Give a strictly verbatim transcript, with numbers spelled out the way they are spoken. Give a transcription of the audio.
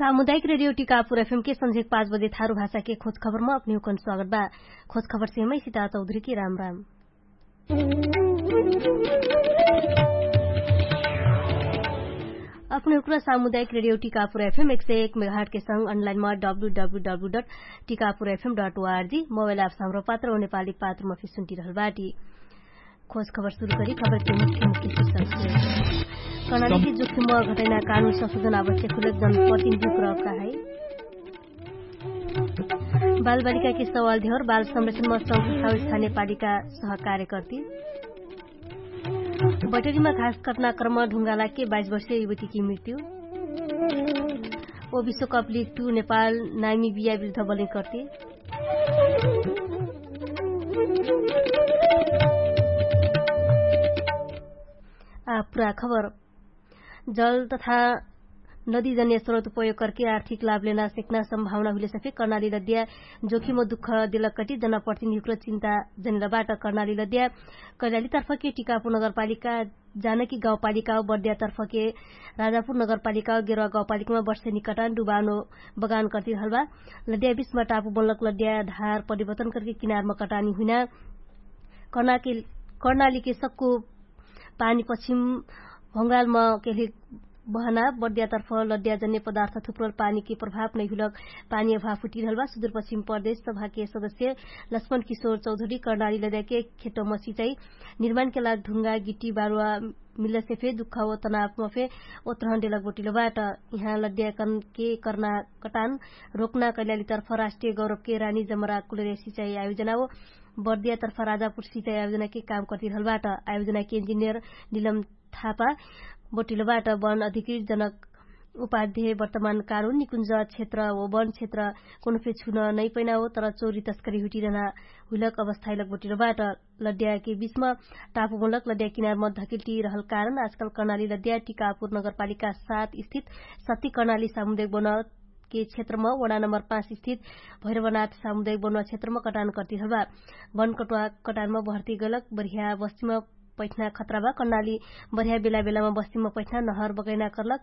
सामुदायिक रेडियो टिकापुर एफएम के संझेक पाँच बजे थारु भाषा के खोज खबरमा अपने हुकन स्वागत बा। खोज खबर से मै सिता चौधरी के राम राम। अपने हुक्रा सामुदायिक रेडियो टिकापुर एफएम एक सय एक मेगाहट के संग अनलाइनमा डब्ल्यू डब्ल्यू डब्ल्यू डट टिकापुर एफएम डट ओआरजी मोबाइल एप्स हाम्रो पात्र वा नेपाली पात्रमा फिर सुन्टिरहल बाटी। खोज खबर सुरु करी खबर के मुख्य मुख्य शीर्षक से। कर्णाली के जोखिम घटैना कानुन संशोधन आवश्यक हुलक जनप्रतिनिधि प्रवक्ता है। बालबालिका के सवाल ध्यौर बाल संरक्षण मा संस्था स्थानीय पालिका सहकार्य कर्ती। बैटरीमा घास कटना क्रम ढुङ्गाला के बाइस वर्षीय युवती की मृत्यु। ओ विश्वकप लिग टू नेपाल नामी बिया विरुद्ध बलिङ कर्ती। आ पुरा खबर। जल तथा नदीजन्य स्रोत उपयोग करके आर्थिक लाभ लेना सेक्ना सम्भावना हुइले सफे कर्णाली लद्या जोखिम दुःख दिलकटी जनप्रतिनिधिको चिन्ता जनिलबाट। कर्णाली लद्या कैलाली तर्फके टिकापुर नगरपालिका जानकी गाउँपालिका बर्द्या तर्फके राजापुर नगरपालिका गेरवा गाउँपालिकामा बर्षे निकटान डुबानो बगान कर्तिरहलबा। लद्या बिचमा टापु बनलक लद्या धार परिवर्तन करके किनारमा कटानी हुइना। कर्णाली के सक्कु पानी पश्चिम भङ्गालमा केल्हिक बहना बर्द्यातर्फ लद्या जन्य पदार्थ थुप्रल पानीके प्रभाव नैहुलक पानी अभाव हुटिरहलबा। सुदुरपश्चिम प्रदेश सभाके सदस्य लक्ष्मण किशोर चौधरी कर्णाली लद्याके खेतमा सिचाइ निर्माणके लाग ढुङ्गा गिट्टी बारुवा मिल्लसे फे दुःख व तनावमा फे ओत्रहन डेलक बोटिलो बाट। यहाँ लद्याकनके कर्ना कटान रोक्ना कैलालीतर्फ राष्ट्रिय गौरवके रानी जमरा कुलर्या सिचाइ आयोजना हो। बर्दियातर्फ राजापुर सिचाइ आयोजनाके काम कर्तिरहलबाट। आयोजनाके इन्जिनियर निलम थापा बोटिलोबाट वन अधिकृत जनक उपाध्याय वर्तमान कारुन निकुञ्ज क्षेत्र व वन क्षेत्र कोनो फे छुन नैपैना हो तर चोरी तस्करी हुटिरहना हुइलक अवस्थाइलक बोटिलोबाट। लद्याके बिचमा टापुमूलक लद्या किनारमा धकिल्टी रहल कारण आजकाल कर्णाली लद्या टिकापुर नगरपालिका सात स्थित सत्ती कर्णाली सामुदायिक बन के क्षेत्रमा वडा नम्बर पाँच स्थित भैरवनाथ सामुदायिक बन क्षेत्रमा कटान कर्तिरहलबा। वन कटुवा कटानमा भर्ती गलक बर्ह्या बस्तीमा पैठना खतराबा कर्णाली बर्ह्या बेला बेलामा बस्तीमा पैठना नहर बगैना कर्लक।